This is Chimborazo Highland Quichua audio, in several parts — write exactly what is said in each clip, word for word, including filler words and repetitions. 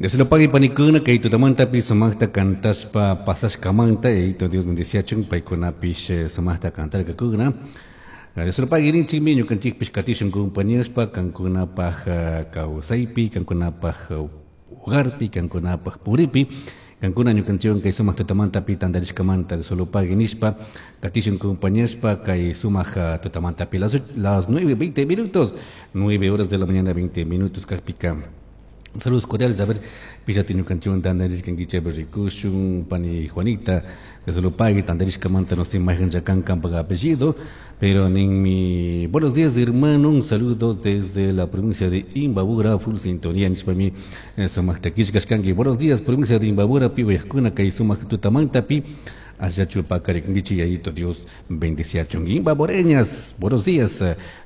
Dios lo pague panikuna kay tutamantapi sumaqta cantaspa pasashkamanta yayito Dios bendiciachun paykunapish sumaqta cantarkakuna. Dios lo pague rinchikmi ñukanchikpish katishun compañaspa kankunapaj kawsaypi kankunapaj hogarpi kankunapaj puripi kankuna ñukanchikwan kay sumaq tutamantapi tantarishkamanta Dios lo pague nishpa katishun compañaspa kay sumaq tutamantapi las, las nueve veinte minutos, nueve horas de la mañana veinte minutos kajpika. Saludos cordiales, a ver, pillati ñukanchikwan tantarishkankichik rikushun pani Juanita, Dios lo pague, tantarishkamanta no sé mayqan kan kanpak apellido, pero ninmi, buenos días, hermano, un saludo desde la provincia de Imbabura, full sintonía nishpami sumaqta killkashkanki. Buenos días, provincia de Imbabura, pi uyajkuna kay sumaq tutamantapi, allá paqarikunkichik, yayito Dios bendiciachun. Imbabureñas, buenos días,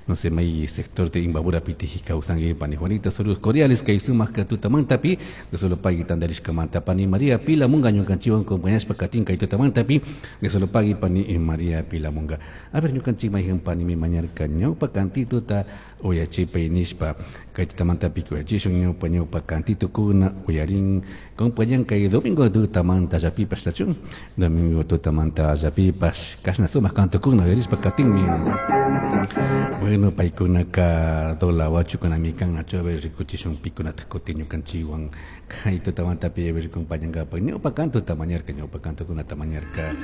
no sé, may sector de Imbabura pitiji kawsanki pani Juanita, saludos cordiales kay sumaq tutamantapi, Dios lo pague tantarishkamanta pani María Pilamunga ñukanchikwan compañashpa katin kay tutamantapi, Dios lo pague pani María Pilamunga. A ver, ñukanchik mayqan panimi mañarka ñawpa cantituta uyachipay nishpa kay tutamantapi uyachishun ñawpa ñawpa cantitukuna uyarin compañan kay domingo tutamanta llapipash tachun domingo tutamanta llapipash kashna sumaq cantukuna uyarishpa katinmi. Bueno, paykunaka dola wachukunami kan achu a ver rikuchishun pikunata kutin ñukanchikwan kay tutamantapi a ver compañankapak ñawpa cantuta mañarka ñawpa cantukunata mañarka.